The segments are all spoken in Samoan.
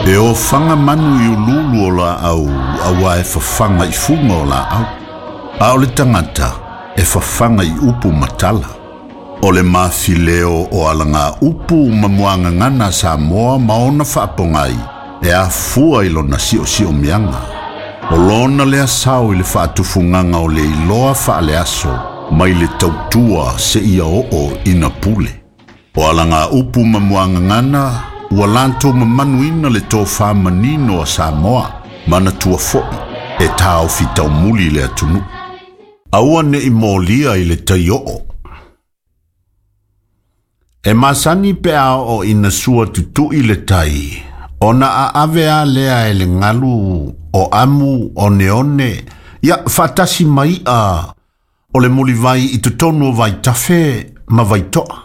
E ofaga manu i uluulu o laau auā e fafaga i fuga o laau, a o le tagata e fafaga i upu ma tala. O le mafileo o alagaupu ma muagagana a Samoa ma ona faapogai e afua i lona siosiomiaga. O lona lea sao i le faatufugaga o le iloa faaleaso mai le tautua seia oo ina pule. O alagaupu ma muagagana ua latou mamanuina le tofa manino a Samoa, manatua foi e taofi taumuli le atunuu. Aua ne i molia i le tai oo. E masani pe a oo ina sua tutui le tai, ona aave a lea e le galu o amu o neone, ia faatasi ma i'a o le mulivai i totonu o vaitafe ma vaitoa.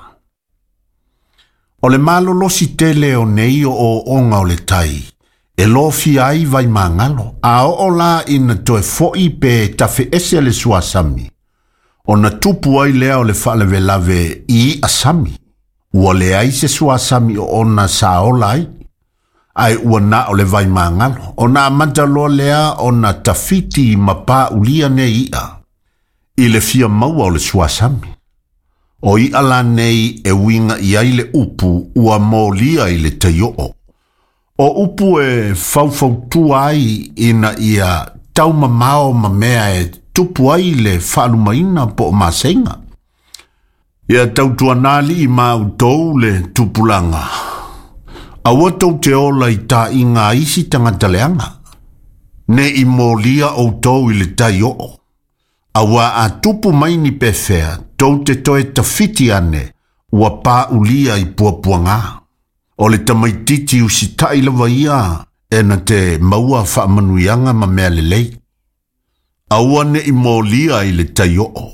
O le malolosi tele o nei ooooga o le tai, e lofia ai vaimagalo, a oo la ina toe fo'i pe tafeese le suasami, ona tupu ai lea o le faalavelave i i'a sami. Ua leai se suasami o ona sa ola ai, ae ua na o le vaimagalo, ona amata loa lea ona tafiti ma paulia nei i'a, i le fia maua o le suasami. O i'a la nei e uiga i ai le upu ua molia i le tai oo. O upu e faufautua ai ina ia taumamao ma mea e tupu ai le faalumaina po o maseiga. Ia tautuana alii ma outou le tupulaga. Aua tou te ola i taaiga a isi tagata leaga. Ne i molia outou i le tai oo. Auā a tupu mai ni pefea, tou te toe tafiti ane, ua paulia i puapuagā. O le tamaitiiti usitai lava ia e na te maua faamanuiaga ma mea lelei. Aua ne i molia i le tai oo.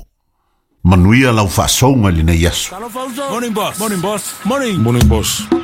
Manuia lau faasouga i lenei aso. Morning, boss. Morning, boss. Morning. Morning, boss.